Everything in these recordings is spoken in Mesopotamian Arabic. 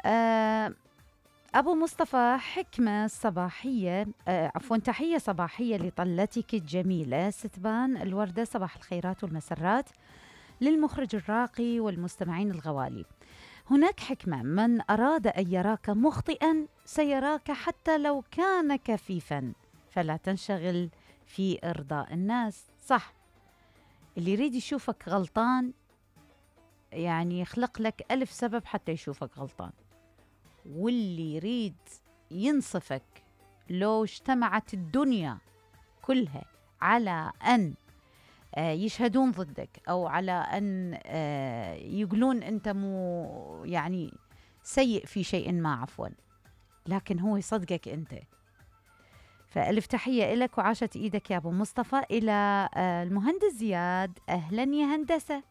آه أبو مصطفى، حكمة صباحية، تحية صباحية لطلتك الجميلة ستبان الوردة. صباح الخيرات والمسرات للمخرج الراقي والمستمعين الغوالي. هناك حكمة: من أراد أن يراك مخطئا سيراك حتى لو كان كفيفا، فلا تنشغل في إرضاء الناس. صح، اللي يريد يشوفك غلطان يعني يخلق لك 1000 سبب حتى يشوفك غلطان، واللي يريد ينصفك لو اجتمعت الدنيا كلها على أن يشهدون ضدك أو على أن يقولون أنت مو يعني سيء في شيء ما، عفوا، لكن هو يصدقك أنت. فألف تحية إلك وعاشت إيدك يا أبو مصطفى. إلى المهندس زياد، أهلا يا هندسة.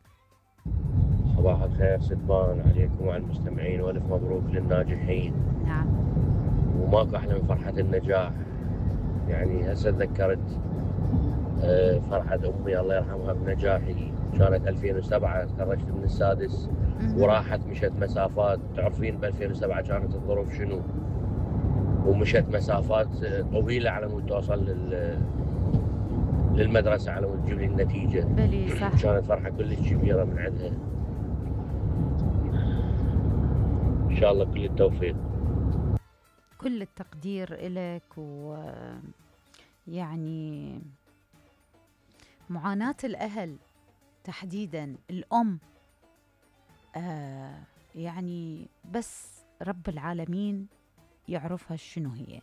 صباح الخير ستبان عليكم وعلى المستمعين، والف مبروك للناجحين. نعم. وماكو احلى من فرحة النجاح. يعني هسه تذكرت فرحة امي الله يرحمها بنجاحي، كانت 2007 تخرجت من السادس وراحت مشت مسافات. تعرفين ب 2007 كانت الظروف شنو، ومشت مسافات طويلة على مود توصل للمدرسة على مود تجيب لي النتيجة. بلي صح. كانت فرحة كلش كبيرة من عندها. إن شاء الله كل التوفيق. كل التقدير إلك. ويعني معاناة الأهل تحديدا الأم، يعني بس رب العالمين يعرفها شنو هي.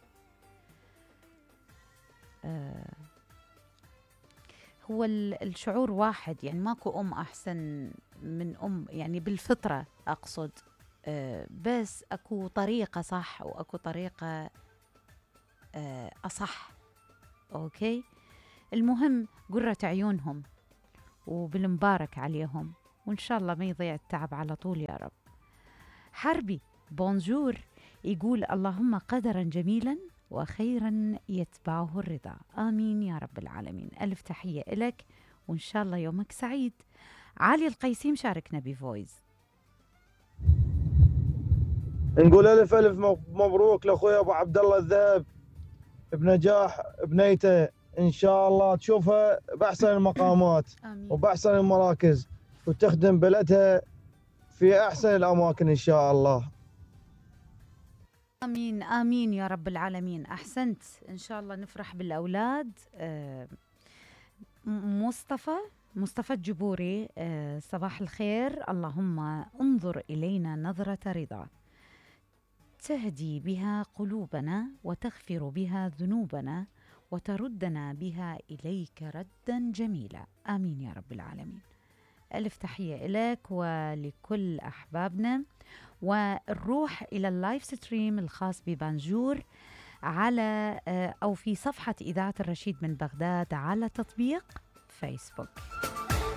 هو الشعور واحد، يعني ماكو أم أحسن من أم، يعني بالفطرة أقصد. بس أكو طريقة صح وأكو طريقة أصح. أوكي، المهم قرة عيونهم وبالمبارك عليهم، وإن شاء الله ما يضيع التعب على طول يا رب. حربي بونجور يقول: اللهم قدرا جميلا وخيرا يتبعه الرضا، آمين يا رب العالمين. ألف تحية إلك وإن شاء الله يومك سعيد. علي القيسي مشاركنا بفويز. نقول ألف مبروك لأخوي أبو عبد الله الذهب بنجاح بنيته، إن شاء الله تشوفها بأحسن المقامات وبأحسن المراكز، وتخدم بلدها في أحسن الأماكن إن شاء الله. آمين آمين يا رب العالمين. أحسنت، إن شاء الله نفرح بالأولاد. مصطفى الجبوري، صباح الخير. اللهم انظر إلينا نظرة رضا تهدي بها قلوبنا وتغفر بها ذنوبنا وتردنا بها إليك ردا جميلا، آمين يا رب العالمين. ألف تحية إليك ولكل أحبابنا. ونروح إلى اللايف ستريم الخاص ببانجور على أو في صفحة إذاعة الرشيد من بغداد على تطبيق فيسبوك.